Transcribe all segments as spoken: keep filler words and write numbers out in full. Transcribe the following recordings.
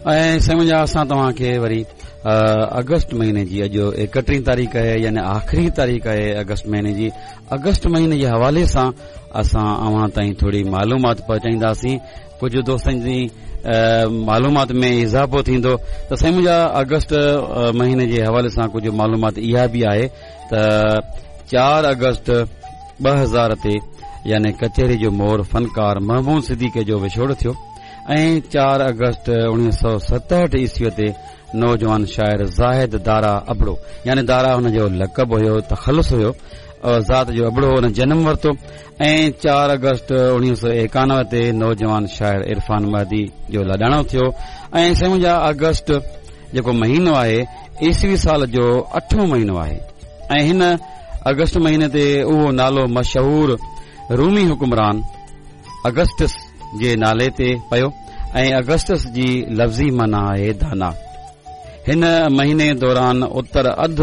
۽ سائين منهنجا اسان توهان کي وري آگسٽ مهيني جي اڄ ايڪٽيهين تاريخ آهي، يعني آخري تاريخ آهي آگسٽ مهيني جي. آگسٽ مهيني جي حوالي سان اسان اوهان تائين ٿوري معلومات پهچائينداسين، ڪجهه دوستن جي معلومات ۾ اضافو ٿيندو. ته سائين منهنجا آگسٽ مهيني جي حوالي سان ڪجهه معلومات اها به آهي ته چار آگسٽ ٻه هزار تي يعني ڪچهري جو مور فنڪار محمود صديقي جو وڇوڙو ٿيو، ۽ چار آگسٽ اڻويهه سؤ ستهٺ عيسويء تي نوجوان شاعر زاهد دارا ابڙو، يعني دارا هن جو لقب هيو، تخلص هيو، ذات جو ابڙو، هن جنم ورتو. ۽ چار آگسٽ اڻويهه سؤ ايڪانوي تي نوجوان شاعر عرفان مهدي جو لاڏاڻو ٿيو. ۽ سائين منهنجا آگسٽ جيڪو مهينو آهي عيسوي سال جو اٺون مهينو آهي، ۽ هن آگسٽ مهيني تي اهو نالو مشهور رومي حڪمران اگسٽس جي نالي تي پيو، ۽ اگسٽس جي لفظي معنيٰ آهي دانا. هن مهيني دوران اتر اڌ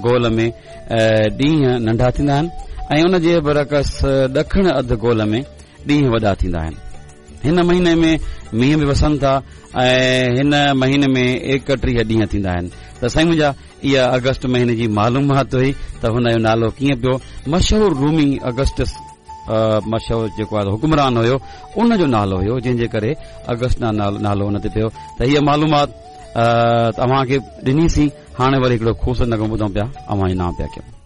گول ۾ ڏينهن ننڍا ٿيندا آهن، ۽ ان جي برعڪس ڏکڻ اڌ گول ۾ ڏينهن وڏا ٿيندا آهن. هن مهيني ۾ مينهن به وسن ٿا، ۽ هن مهيني ۾ ايڪٽيهه ڏينهن ٿيندا آهن. ته سائين منهنجا اها آگسٽ مهيني جي معلومات هئي ته هن جو نالو ڪيئن پيو. مشهور رومي اگسٽس مشهور جيڪو آهي حڪمران هيو، ان جو نالو هيو، جنهن جي ڪري آگسٽ نالو ان تي پيو. ته هيء معلومات اوهان کي ڏنيسين. هاڻي وري هڪڙو خوبصورت نغمو ٻڌون پيا، اوهان جي نام پيا ڪيون.